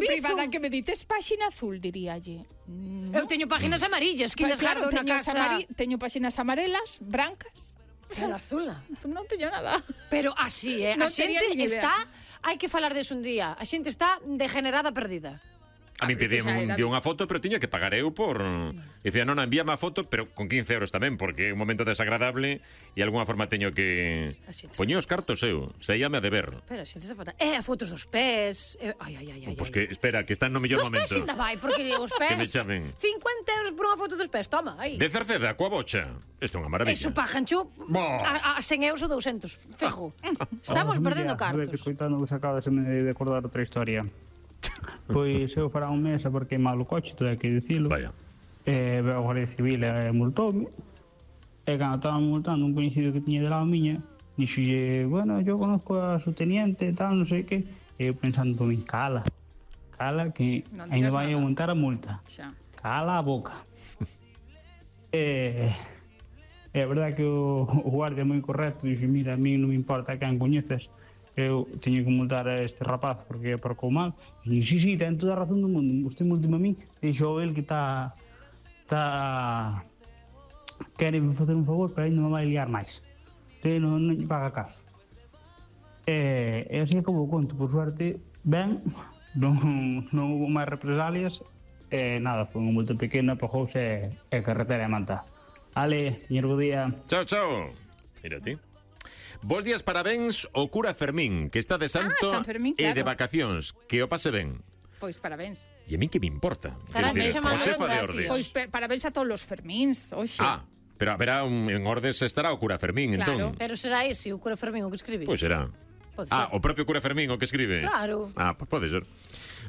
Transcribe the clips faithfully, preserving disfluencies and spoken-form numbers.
mensaxe privada que me dites páxina azul, diríalle. No. Eu teño páxinas amarillas, que pues, claro, teño, casa... amari... teño páxinas amarelas, brancas. Pero azula. Non teño nada. Pero así, eh? Non a xente está... Hai que falar deso un día. A xente está degenerada perdida. A mí pedían unha foto, pero tiña que pagar eu por... Dicía, non, envíame a foto, pero con quince euros tamén, porque é un momento desagradable e de alguna forma teño que... Poñía os cartos eu, saíame a deber. Pero, xente, esa foto... Eh, fotos dos pés... Eh, ai, ai, ai, ai. Pois que, espera, que están no mellor dos momento. Dos pés ainda vai, porque os pés... Que me chamen. cincuenta euros por unha foto dos pés, toma, aí. De Cerceda, coa bocha. Isto é unha maravilla. Eso pagancho a, a cen euros ou doscientos, fijo. Estamos oh, perdendo cartos. A ver, escoitando vos acabaseme de acordar outra historia. Pois eu fará un mes a por queimar o coche, todo hai que dicilo. Vaya. E a Guardia Civil e multoume. E cando estaba multando un coñecido que tiña de lado miña, dixolle, bueno, yo conozco a su teniente e tal, non sei que. E eu pensando por min, cala, cala, que ainda vai a montar a multa. Xa. Cala a boca. e... É verdade que o, o guardia é moi correcto, dixe, mira, a mí non me importa quen coñeces, eu teño que multar a este rapaz porque aparcou mal. E dixo, sí, sí, ten toda a razón do mundo, usted multime a mí, dixo el que está... está... quere facer un favor, pero aí non me vai liar máis. Usted non, non lle paga caso. E, e así acabou o conto, por suerte, ben, non, non houve máis represalias, e nada, foi unha multa pequena, pagouse e, e carretera e manta. Ale, señor, bo día. Chao, chao. Mira ti. Bos días, parabéns ao cura Fermín, que está de santo ah, Fermín, e claro. de vacacións. Que o pase ben. Pois parabéns. E a min que me importa? Caramba, Josefa de Ordes. Pois parabéns a todos os Fermíns, oxe. Ah, pero haberá un, en Ordes estará o cura Fermín, claro. entón. Pero será ese o cura Fermín o que escribe? Pois será. Ah, o propio cura Fermín o que escribe? Claro. Ah, pois pode ser.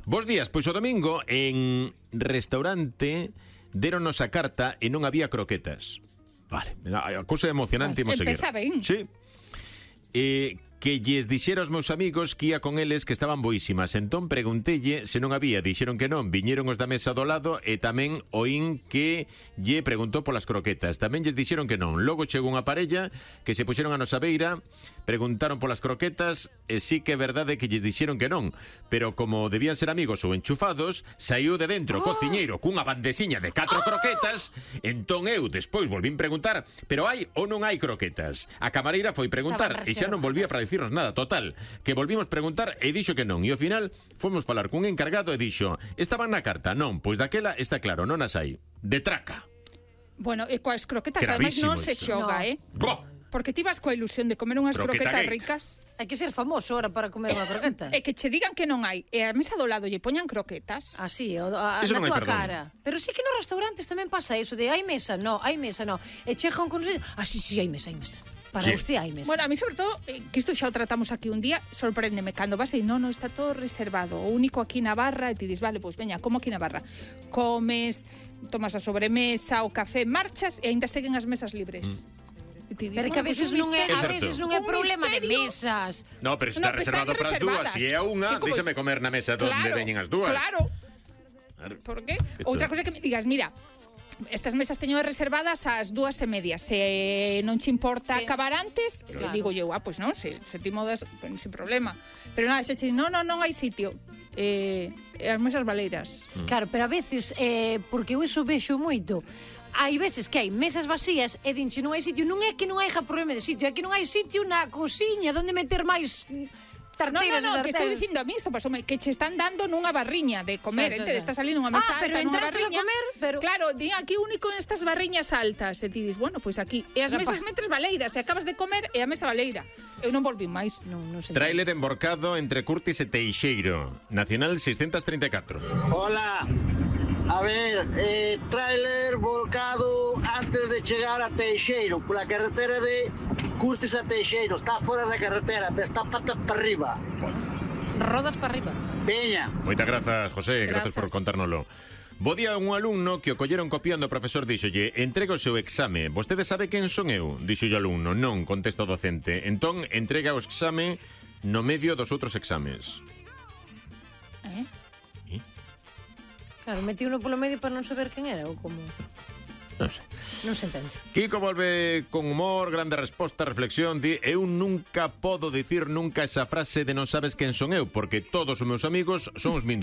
Bos días, pois o domingo en restaurante deronos a carta e non había croquetas. Vale, a cousa emocionante imos seguir. Empeza ben. Sí. Eh, que lles dixera aos meus amigos que ia con eles que estaban boísimas. Entón preguntelle se non había, dixeron que non. Viñeron os da mesa do lado e tamén oín que lle preguntou polas croquetas. Tamén lles dixeron que non. Logo chegou unha parella que se puxeron a nosa beira, preguntaron polas croquetas e sí que é verdade que lles dixeron que non. Pero como debían ser amigos ou enchufados, saiu de dentro o cociñeiro cunha bandesiña de catro croquetas. Entón eu despois volvín preguntar, pero hai ou non hai croquetas? A camareira foi preguntar e xa non volvía para dicirnos nada. Total, que volvimos preguntar e dixo que non. E ao final fomos falar cun encargado e dixo, estaban na carta? Non, pois daquela está claro, non as hai. De traca. Bueno, e coas croquetas ademais non se xoga, no. eh? Boh. Porque ti vas coa ilusión de comer unhas Croqueta croquetas gate. ricas. Hai que ser famoso ahora para comer unha croqueta. E que che digan que non hai, e a mesa do lado lle poñan croquetas. Así, o, a, Eso na non hai tua perdón. cara. Pero sí que nos restaurantes tamén pasa eso de hai mesa, no, hai mesa, no. E chegan con... Ah, sí, sí, hai mesa, hai mesa. Para Sí. usted hai mesa. Bueno, a mí sobre todo, eh, que isto xa o tratamos aquí un día, sorpréndeme cando vas e non, non, está todo reservado. O único aquí na barra, e ti dis, vale, pois veña, como aquí na barra. Comes, tomas a sobremesa, o café, marchas e aínda seguen as mesas libres. Mm. Dis, pero que a veces non é, a veces non é problema de mesas. No, pero está no, reservado para as dúas. Se é a unha, sí, díxame comer na mesa donde claro, veñen as dúas. Claro. Por qué? Outra cosa que me digas, mira, estas mesas teño reservadas ás dúas e media. Se non che importa sí. acabar antes, claro. digo eu, ah, pois non, se, se ti modas, pues, sin problema. Pero nada, se che non, non, non hai sitio. Eh, as mesas baleiras. Mm. Claro, pero a veces, eh, porque eu iso vexo moito, hai veces que hai mesas vacías e dinche non hai sitio, non é que non hai problema de sitio, é que non hai sitio na cociña onde meter máis tarteiras. No, no, no, que estou dicindo a mí isto pasoume, que che están dando nunha barriña de comer, sí, sí, sí. Estás ali nunha mesa ah, alta, nunha barriña. A comer, pero... Claro, di aquí único en estas barriñas altas, e ti dis, bueno, pois pues aquí, e as mesas metres baleiras, e acabas de comer e a mesa baleira. Eu non volvín máis. Non, non sei. Tráiler emborcado entre Curtis e Teixeiro, Nacional seiscentos treinta e catro. Hola. A ver, eh, tráiler volcado antes de chegar a Teixeiro, pola carretera de Curtis a Teixeiro. Está fora da carretera, pero está patas para arriba. Rodas para arriba. Veña. Moitas grazas, José, Grazas. grazas por contárnoslo. Bo día, un alumno que o colleron copiando, o profesor díxolle, entrega o seu exame. Vostede sabe quen son eu? Dixo o alumno. Non, contesta o docente. Entón, entrega o exame no medio dos outros exames. Eh? Claro, metí uno polo medio para non saber quen era ou como... Non sei. Non se entende. Kiko volve con humor, grande resposta, reflexión. Di, eu nunca podo dicir nunca esa frase de non sabes quen son eu, porque todos os meus amigos son os min